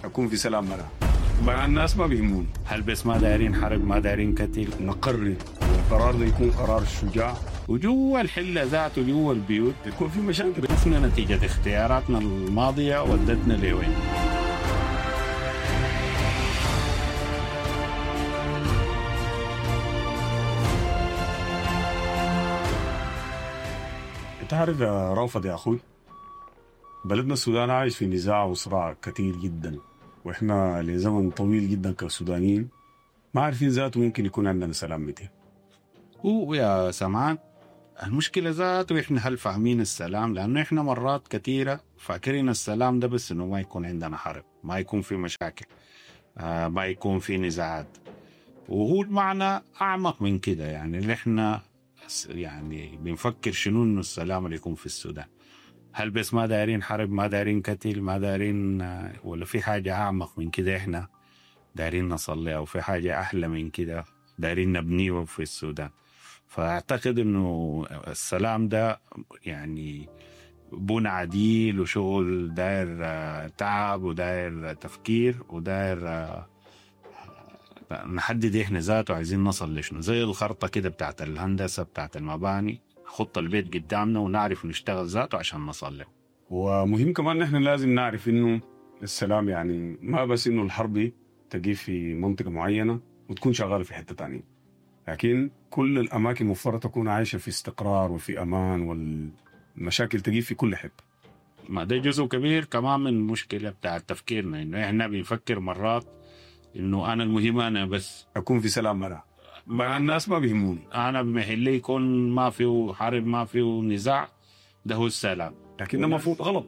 اكون في سلام مرة مع الناس ما بيهموني. هل بس ما دايرين حرب، ما دايرين قتل؟ نقرر، والقرار ده يكون قرار شجاع. وجوا الحلة ذاته، جوا البيوت يكون في مشاكل. شفنا نتيجة اختياراتنا الماضية ودتنا لوين. انت عارف يا رافض يا اخوي، بلدنا السودان عايش في نزاع وصراع كثير جدا، واحنا لزمن طويل جدا كسودانيين ما عارفين ذاته ممكن يكون عندنا سلام متى. هو يا سمعان المشكلة ذاته احنا هل فاهمين السلام؟ لأنه احنا مرات كثيرة فاكرين السلام ده بس انه ما يكون عندنا حرب، ما يكون في مشاكل، ما يكون في نزاعات، وهو المعنى أعمق من كده. اللي احنا بنفكر شنو انه السلام اللي يكون في السودان، هل بس ما دايرين حرب، ما دايرين قتل، ما دايرين، ولا في حاجة أعمق من كده احنا دايرين نصل لها، وفي حاجة أحلى من كده دايرين نبنيه في السودان. فأعتقد إنه السلام ده بنى عديل وشغل داير تعب وداير تفكير وداير نحدد إحنا ذاته عايزين نصل لشنو، زي الخرطة كده بتاعت الهندسة بتاعت المباني، خط البيت قدامنا ونعرف نشتغل ذاته عشان نصل له. ومهم كمان نحن لازم نعرف إنه السلام ما بس إنه الحرب تجي في منطقة معينة وتكون شغالة في حتة تانية، لكن كل الأماكن مفترض تكون عايشة في استقرار وفي أمان، والمشاكل تجي في كل حتة. ما ده جزء كبير كمان من المشكلة بتاع تفكيرنا، إنه إحنا بنفكر مرات إنه أنا المهم أنا بس أكون في سلام مرة مع الناس ما بيهموني، أنا بمحلي يكون ما فيه حرب ما فيه نزاع، ده هو السلام. لكن ده مفروض غلط.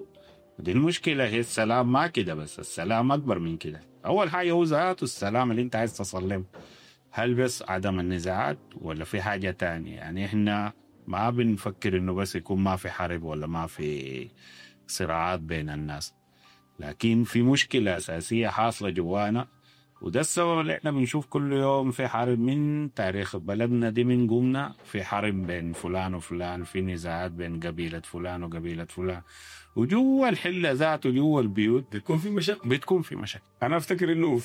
دي المشكلة، هي السلام ما كده بس، السلام أكبر من كده. أول حاجة هو ذاته السلام اللي أنت عايز تصل له، هل بس عدم النزاعات ولا في حاجة تانية؟ إحنا ما بنفكر إنه بس يكون ما في حرب ولا ما في صراعات بين الناس، لكن في مشكلة أساسية حاصلة جوانا، وده السبب اللي إحنا بنشوف كل يوم في حرب من تاريخ بلدنا دي، من قمنا في حرب بين فلان وفلان، في نزاعات بين قبيلة فلان وقبيلة فلان، وجوا الحلة ذاته جوا البيوت بتكون في مشاكل. بتكون في مشاكل. أنا أفتكر إنه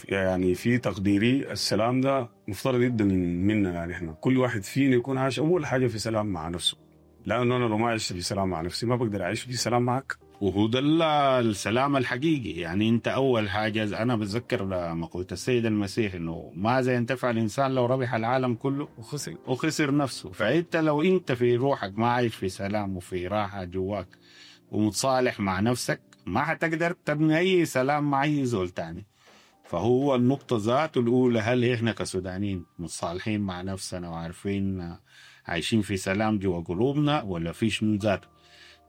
في تقديري السلام ده مفترض جدا منا، إحنا كل واحد فينا يكون عايش أول حاجة في سلام مع نفسه، لأنه أنا لو ما عشت في سلام مع نفسي ما بقدر أعيش في سلام معك. وهو ده السلام الحقيقي. أنت أول حاجة، أنا بتذكر مقولة السيد المسيح إنه ماذا ينتفع الإنسان لو ربح العالم كله وخسر نفسه. فأنت لو أنت في روحك ما عايش في سلام وفي راحة جواك ومتصالح مع نفسك، ما حتقدر تبني أي سلام مع أي زول تاني. فهو النقطة ذاته الأولى، هل إحنا كسودانيين متصالحين مع نفسنا وعارفين عايشين في سلام جوا قلوبنا ولا في شنو ذاته؟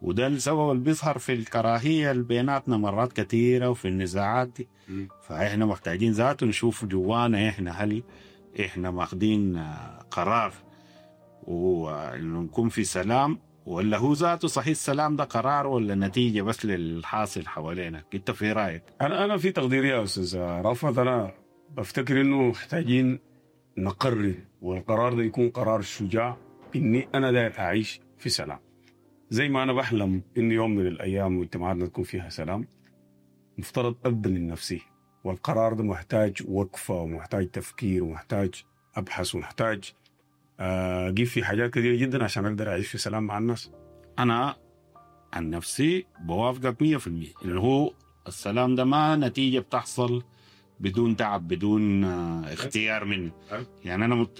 وده السبب اللي بيظهر في الكراهية اللي بيناتنا مرات كثيرة وفي النزاعات دي. فإحنا محتاجين ذاته نشوف جوانا إحنا هل إحنا ماخدين قرار وإنه نكون في سلام، ولا هو ذاته صحيح السلام ده قرار ولا نتيجة بس للحاصل حوالينا؟ أنت في رأيك؟ أنا في تقديري يا أستاذ رأفت، أنا بفتكر إنه محتاجين نقرر، والقرار ده يكون قرار شجاع، إني أنا داير أعيش في سلام. زي ما أنا بحلم إن يوم من الأيام مجتمعاتنا تكون فيها سلام، مفترض أبدأ من نفسي، والقرار ده محتاج وقفة ومحتاج تفكير ومحتاج أبحث ومحتاج أجيب في حاجات كثيرة جدا عشان أقدر أعيش في سلام مع الناس. أنا عن نفسي بوافقك مية في المية اللي هو السلام ده ما نتيجة بتحصل بدون تعب، بدون اختيار مني.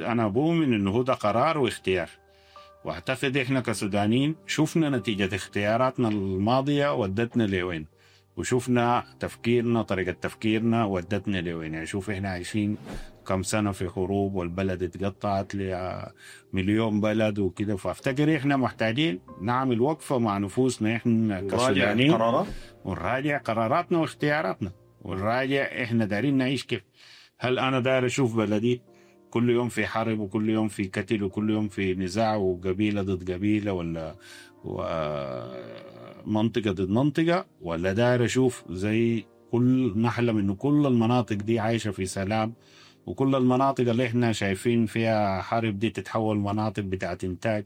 أنا بؤمن إنه هو ده قرار واختيار، واعتقد إحنا كسودانيين شفنا نتيجة اختياراتنا الماضية ودتنا لوين، وشفنا طريقة تفكيرنا ودتنا لوين. شوف إحنا عايشين كم سنة في حروب والبلد اتقطعت لمليون بلد وكده. فافتكر إحنا محتاجين نعمل وقفة مع نفوسنا إحنا كسودانيين ونراجع قرارات، ونراجع قراراتنا واختياراتنا، ونراجع إحنا دارين نعيش كيف. هل أنا داير أشوف بلدي كل يوم في حرب وكل يوم في قتل وكل يوم في نزاع وقبيلة ضد قبيلة ولا منطقة ضد منطقة، ولا داير أشوف زي كل نحلم إنه كل المناطق دي عايشة في سلام، وكل المناطق اللي إحنا شايفين فيها حرب دي تتحول مناطق بتاعت إنتاج،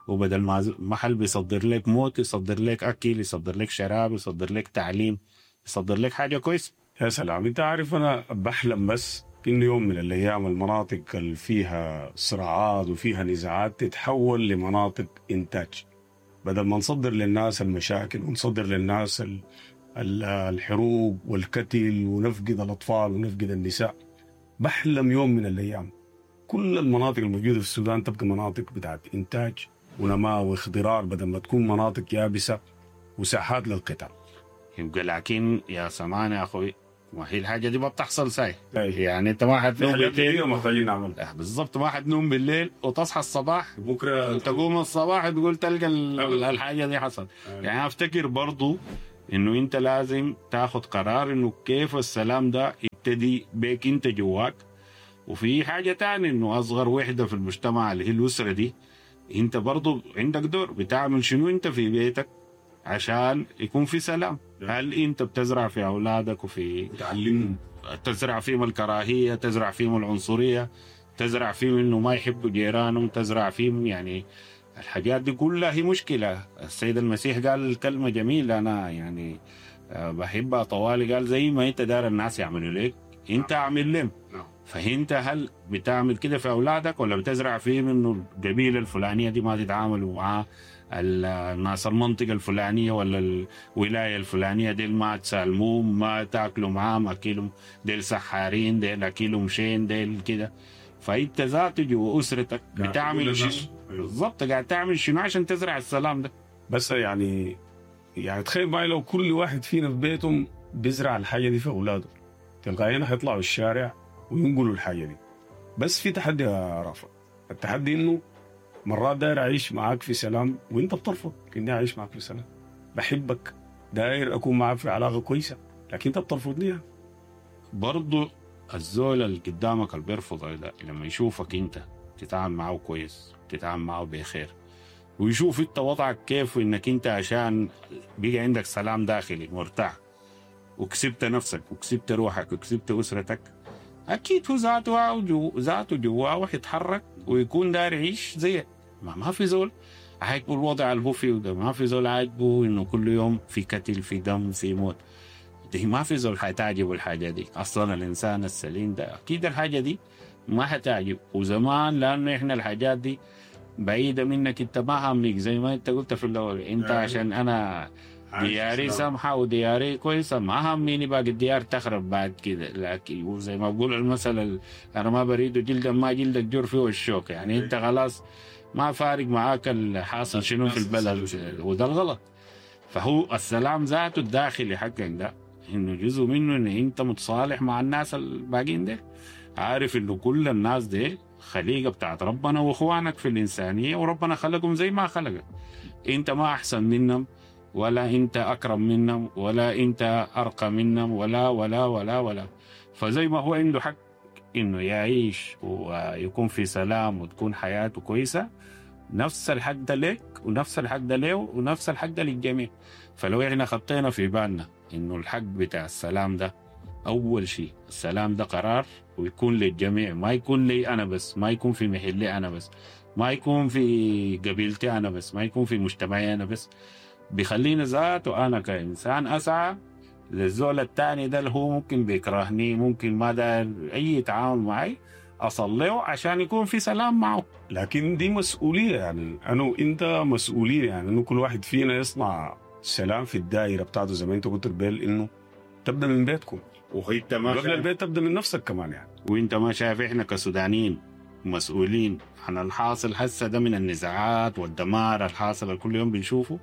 وبدل ما محل بيصدر لك موت يصدر لك أكل، يصدر لك شراب، يصدر لك تعليم، يصدر لك حاجة كويسة. يا سلام. انت عارف انا بحلم بس انه يوم من الايام المناطق اللي فيها صراعات وفيها نزاعات تتحول لمناطق انتاج، بدل ما نصدر للناس المشاكل ونصدر للناس الحروب والقتل ونفقد الاطفال ونفقد النساء. بحلم يوم من الايام كل المناطق الموجودة في السودان تبقى مناطق بتاعت انتاج ونماء واخضرار، بدل ما تكون مناطق يابسة وساحات للقتال. يبقى لكن يا سمان يا اخوي، ما هي الحاجة دي ما بتحصل ساي. يعني انت ما حتنوم بالليل، محتاجين نعمل بالضبط، ما حتنوم بالليل وتصحى الصباح بكره تقوم الصباح تقول تلقى الحاجة دي حصلت. يعني افتكر برضو انه انت لازم تاخذ قرار انه كيف السلام ده يبتدي بيك انت جواك. وفي حاجة تانية انه اصغر وحده في المجتمع اللي هي الاسرة دي، انت برضو عندك دور، بتعمل شنو انت في بيتك عشان يكون في سلام؟ هل انت بتزرع في اولادك وفي تعلمهم، تزرع فيهم الكراهية، تزرع فيهم العنصرية، تزرع فيهم انه ما يحبوا جيرانهم، تزرع فيهم يعني الحاجات دي كلها هي مشكلة. السيد المسيح قال كلمة جميلة انا يعني بحبها طوالي، قال زي ما انت دار الناس يعملوا لك انت اعمل لهم. فانت هل بتعمل كده في اولادك ولا بتزرع فيهم انه القبيلة الفلانية دي ما تتعاملوا مع الناس المنطقة الفلانية ولا الولاية الفلانية، ديل ما تسالموهم، ما تاكلوا معاهم، اكلهم ديل سحارين، ديل اكلهم شين، ديل كده. فانت ذاته جوا اسرتك بتعمل شنو بالضبط؟ قاعد تعمل شنو عشان تزرع السلام ده؟ بس يعني تخيل معي لو كل واحد فينا في بيتهم بيزرع الحاجة دي في اولاده، تلقائيا حيطلعوا الشارع وينقلوا الحاجة دي. بس في تحدي يا رافع، التحدي انه مرات داير اعيش معاك في سلام وانت بترفض اني اعيش معاك في سلام. بحبك، داير اكون معاك في علاقة كويسة، لكن انت بترفضني. برضو الزول اللي قدامك اللي بيرفض ده لما يشوفك انت تتعامل معه كويس، تتعامل معه بخير، ويشوف انت وضعك كيف، وانك انت عشان بقى عندك سلام داخلي مرتاح وكسبت نفسك وكسبت روحك وكسبت اسرتك، اكيد هو ذاته جواه حيتحرك ويكون داير يعيش زيك. ما في زول عاجبه الوضع اللي هو فيه ده، ما في زول عاجبه انه كل يوم في قتل، في دم، في موت. دي ما في زول حتعجبه الحاجة دي اصلا. الانسان السليم ده اكيد الحاجة دي ما حتعجب. وزمان لانه احنا الحاجات دي بعيدة منك، انت ما همك زي ما انت قلت في الاول، انت عشان انا دياري سمحة ودياري كويسة ما هميني باقي الديار تخرب بعد كده. لكن وزي ما بقول المثل، أنا ما بريد جلدا ما جلدك جر فيه الشوك. يعني أنت خلاص ما فارق معاك الحاصل شنو في البلد، وده الغلط. فهو السلام ذاته الداخلي حقك ده إنه جزء منه إن أنت متصالح مع الناس الباقيين ده، عارف إنه كل الناس دي خليقة بتاعت ربنا وإخوانك في الإنسانية، وربنا خلقهم زي ما خلقك. أنت ما أحسن منهم ولا انت اكرم منهم ولا انت ارقى منهم ولا ولا ولا ولا. فزي ما هو عنده حق انه يعيش ويكون في سلام وتكون حياته كويسة، نفس الحق ده لك ونفس الحق ده له ونفس الحق ده للجميع. فلو احنا خطينا في بالنا انه الحق بتاع السلام ده، اول شيء السلام ده قرار ويكون للجميع، ما يكون لي انا بس، ما يكون في محلي انا بس، ما يكون في قبيلتي انا بس، ما يكون في مجتمعي انا بس، بيخليني ذاته أنا كإنسان أسعى للزول الثاني ده اللي هو ممكن بيكرهني، ممكن ما داير أي تعامل معي، أصلية عشان يكون في سلام معه. لكن دي مسؤولية، يعني أنا وإنت مسؤولية، يعني إنه كل واحد فينا يصنع سلام في الدائرة بتاعته زي ما أنت قلت قبل، إنه تبدأ من بيتكم، وإنت ما قبل البيت تبدأ من نفسك كمان يعني. وإنت ما شايف إحنا كسودانيين مسؤولين عن الحاصل هسه ده من النزاعات والدمار الحاصل كل يوم بنشوفه.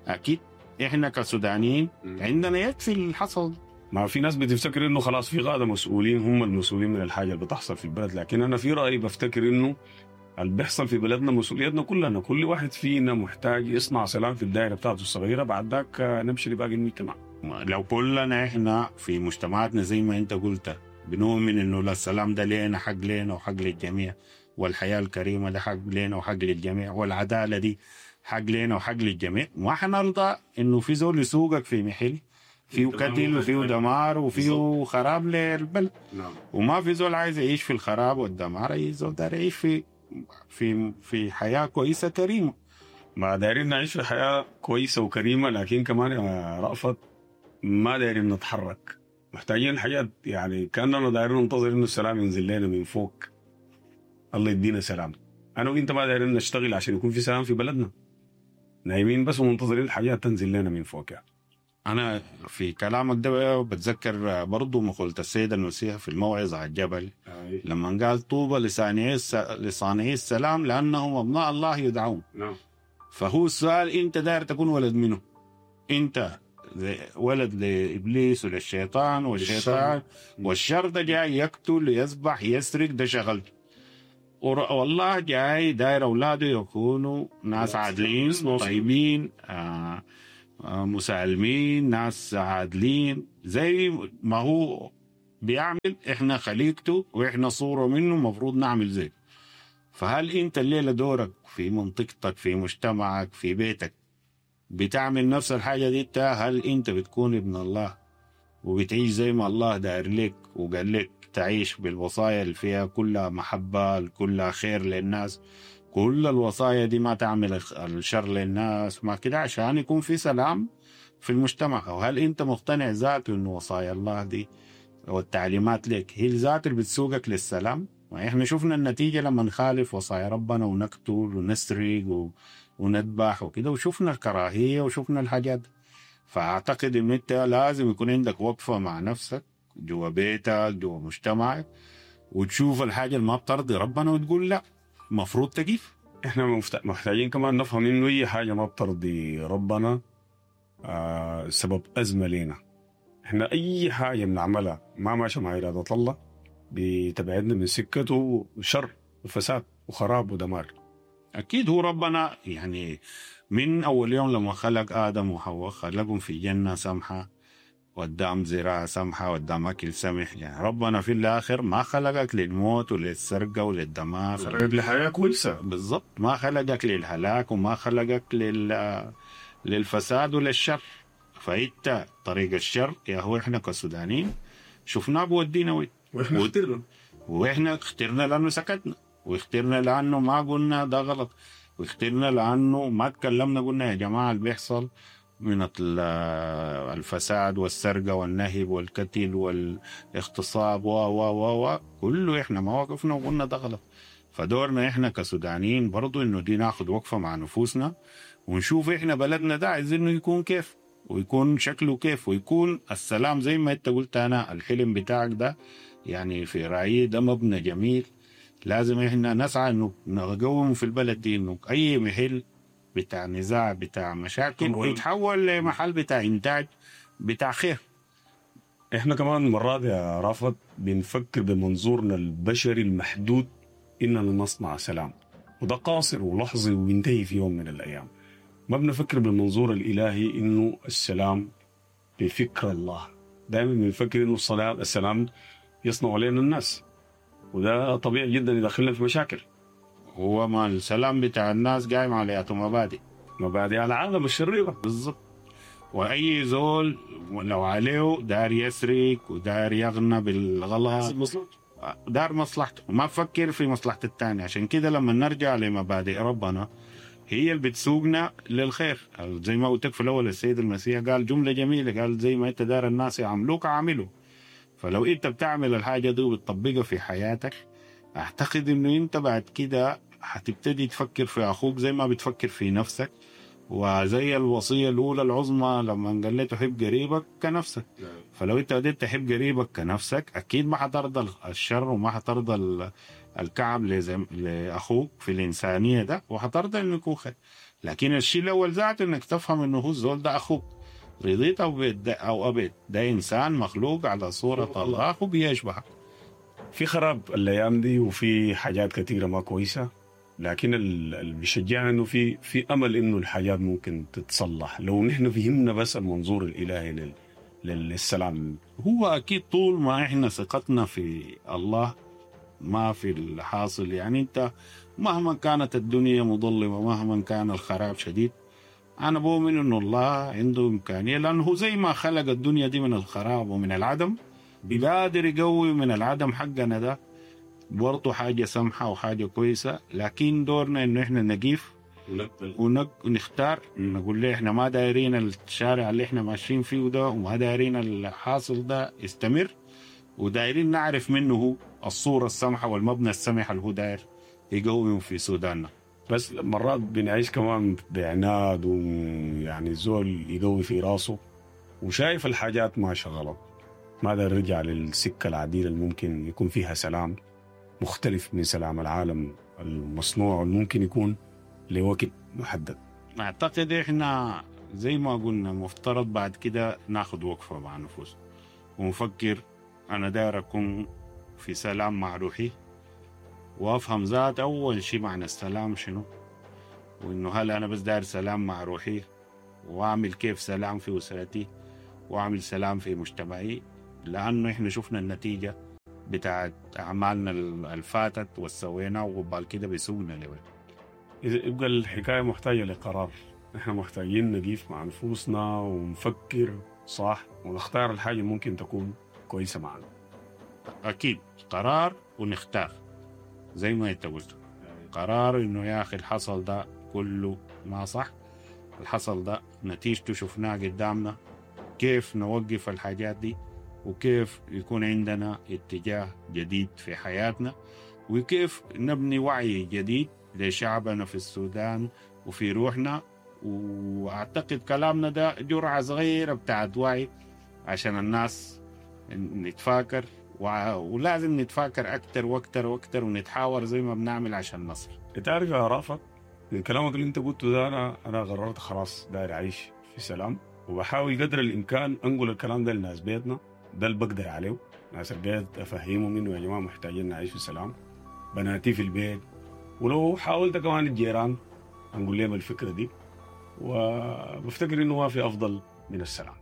اكيد احنا كسودانيين عندنا يد في الحصل. ما في ناس بتفتكر انه خلاص في قاده مسؤولين هم المسؤولين من الحاجة اللي بتحصل في البلد، لكن انا في رايي بفتكر انه اللي بيحصل في بلدنا مسؤوليتنا كلنا، كل واحد فينا محتاج يصنع سلام في الدائرة بتاعته الصغيرة، بعد ذاك نمشي لباقي المجتمع. لو كلنا احنا في مجتمعاتنا زي ما انت قلت بنؤمن انه لا السلام ده لينا، حق لينا وحق للجميع، والحياة الكريمة ده حق لينا وحق للجميع، والعدالة دي حق لينا وحق للجميع، ما حنرضى انه في زول يسوقك في محل فيه قتل وفيه دمار وفيه خراب للبلد. نعم. وما في زول عايز يعيش في الخراب والدمار، اي زول داير يعيش في في في حياة كويسة كريمة. ما دايرين نعيش في حياة كويسة وكريمة، لكن كمان يا رأفت ما دايرين نتحرك محتاجين حاجات، يعني كاننا دايرين ننتظر انه السلام ينزل لنا من فوق، الله يدينا سلام. انا وانت ما دايرين نشتغل عشان يكون في سلام في بلدنا، نايمين بس ومنتظرين الحاجات تنزل لنا من فوق يعني. أنا في كلامك ده بتذكر برضو مقولة السيد المسيح في الموعظة على الجبل، لما قال طوبى لصانعي السلام لأنهم أبناء الله يدعون. فهو السؤال، أنت داير تكون ولد منه؟ أنت ولد لإبليس وللشيطان، والشيطان والشر ده جاي يقتل يذبح يسرق، ده شغلته. والله جاي داير أولاده يكونوا ناس عادلين طيبين، مسالمين، ناس عادلين زي ما هو بيعمل. احنا خليقته واحنا صورة منه، مفروض نعمل زيه. فهل انت الليلة دورك في منطقتك، في مجتمعك، في بيتك، بتعمل نفس الحاجة دي؟ هل انت بتكون ابن الله وبتعيش زي ما الله داير لك وقال لك تعيش بالوصايا اللي فيها كلها محبة، كلها خير للناس، كل الوصايا دي ما تعمل الشر للناس ما كده، عشان يكون في سلام في المجتمع؟ أو هل أنت مقتنع ذاته إنه وصايا الله دي والتعليمات لك هي الذات اللي بتسوقك للسلام؟ ما إحنا شفنا النتيجة لما نخالف وصايا ربنا ونقتل ونسرق ونذبح وكده، وشفنا الكراهية وشفنا الحاجات. فأعتقد إن أنت لازم يكون عندك وقفة مع نفسك جوا بيتك، جوا مجتمعك، وتشوف الحاجة اللي ما بترضي ربنا وتقول لا، مفروض تقيف. احنا محتاجين كمان نفهم انه اي حاجة ما بترضي ربنا سبب ازمة لينا. احنا اي حاجة بنعملها ما ماشية مع اراده الله بتبعدنا من سكته، شر وفساد وخراب ودمار. اكيد هو ربنا يعني من اول يوم لما خلق ادم وحواء خلقهم في جنة سمحه، ودام زراعة سمحة، ودام أكل سمح. يعني ربنا في الآخر ما خلقك للموت وللسرقة وللدمار، خلقك لحياة كويسة. بالضبط، ما خلقك للهلاك وما خلقك للفساد وللشر. فإنت طريق الشر يا هو إحنا كسودانيين شفناه بودينا وين، وإحنا اخترنا، وإحنا اخترنا لأنه سكتنا، واخترنا لأنه ما قلنا ده غلط، واخترنا لأنه ما تكلمنا قلنا يا جماعة اللي بيحصل من الفساد والسرقة والنهب والقتل والاغتصاب و و و و كله احنا ما وقفنا وقلنا ده غلط. فدورنا احنا كسودانيين برضو انه دي ناخد وقفة مع نفوسنا ونشوف احنا بلدنا ده عايزينه يكون كيف، ويكون شكله كيف، ويكون السلام زي ما انت قلت. انا الحلم بتاعك ده يعني في رأيي ده مبنى جميل، لازم احنا نسعى انه نقوم في البلد دي، انه اي محل بتاع نزاع بتاع مشاكل يتحول لمحل بتاع إنتاج بتاع خير. احنا كمان مرات يا رافت بنفكر بمنظورنا البشري المحدود اننا نصنع سلام، وده قاصر ولحظي وينتهي في يوم من الايام. ما بنفكر بالمنظور الالهي انه السلام بفكر الله. دائما بنفكر انه السلام يصنع علينا الناس، وده طبيعي جدا يدخلنا في مشاكل. هو ما السلام بتاع الناس قايم على مبادئ، مبادئ على العالم الشريرة. بالضبط. وأي زول لو عليه دار يسرق ودار يغنى بالغلط، دار مصلحته وما فكر في مصلحة الثاني. عشان كده لما نرجع لمبادئ ربنا هي اللي بتسوقنا للخير. زي ما قلت في الأول السيد المسيح قال جملة جميلة، قال زي ما أنت دار الناس يعملوك عامله. فلو أنت بتعمل الحاجة دي وبتطبقها في حياتك، أعتقد إنه أنت بعد كده هتبتدي تفكر في أخوك زي ما بتفكر في نفسك. وزي الوصية الأولى العظمى لما قال لي تحب قريبك كنفسك. فلو أنت بديت تحب قريبك كنفسك أكيد ما حترضى الشر وما حترضى الكعب لأخوك في الإنسانية ده، وحترضى إنه يكون خير. لكن الشيء الأول ذاته إنك تفهم إنه هو الزول ده أخوك، رضيت أو أبيت، ده إنسان مخلوق على صورة الله وبيشبهك. في خراب الأيام دي وفي حاجات كثيرة ما كويسة، لكن اللي بيشجعنا انه في امل انه الحاجات ممكن تتصلح لو نحن فهمنا بس المنظور الالهي للسلام. هو اكيد طول ما احنا ثقتنا في الله ما في الحاصل، يعني انت مهما كانت الدنيا مظلمة، مهما كان الخراب شديد، انا بؤمن انه الله عنده امكانية، لانه هو زي ما خلق الدنيا دي من الخراب ومن العدم بيقادر يقوي من العدم حقنا ده برضه حاجة سمحة وحاجة كويسة. لكن دورنا إنه إحنا نقيف ونختار نقول له احنا ما دايرين الشارع اللي احنا ماشيين فيه ده، وما دايرين الحاصل ده يستمر، ودايرين نعرف منه هو الصورة السمحة والمبنى السمح اللي هو داير يقوم في سوداننا. بس مرات بنعيش كمان بعناد، ويعني الزول يقوي في راسه وشايف الحاجات ماشية غلط، ما داير يرجع للسكة العديلة اللي ممكن يكون فيها سلام مختلف من سلام العالم المصنوع والممكن يكون لوقت محدد. أعتقد إحنا زي ما قلنا مفترض بعد كده ناخد وقفة مع نفوسنا ونفكر أنا داير أكون في سلام مع روحي، وأفهم ذات أول شيء معنى السلام شنو، وإنه هل أنا بس داير سلام مع روحي، وأعمل كيف سلام في أسرتي، وأعمل سلام في مجتمعي، لأنه إحنا شفنا النتيجة بتاعت أعمالنا الفاتت والسوينا، وقبال كده بيسوقنا لوين. إذا يبقى الحكاية محتاجة لقرار، إحنا محتاجين نقيف مع نفوسنا ونفكر صح ونختار الحاجة ممكن تكون كويسة معنا. أكيد قرار ونختار زي ما أنت قلت، قرار إنه يا أخي الحصل ده كله ما صح، الحصل ده نتيجته شفناه قدامنا، كيف نوقف الحاجات دي، وكيف يكون عندنا اتجاه جديد في حياتنا، وكيف نبني وعي جديد لشعبنا في السودان وفي روحنا. وأعتقد كلامنا ده جرعة صغيرة بتاعت وعي عشان الناس نتفاكر، ولازم نتفاكر أكتر وأكتر وأكتر، ونتحاور زي ما بنعمل عشان نصل. تعرف يا رافت، من كلامك اللي انت قلته ده أنا قررت خلاص داير أعيش في سلام، وبحاول قدر الإمكان أنقل الكلام ده لناس بيتنا، ده اللي بقدر عليه. ناس البيت أفهمهم إنه يا جماعة محتاجين نعيش في سلام، بناتي في البيت، ولو حاولت كمان الجيران أنقل لهم الفكرة دي، وبفتكر إنه ما في أفضل من السلام.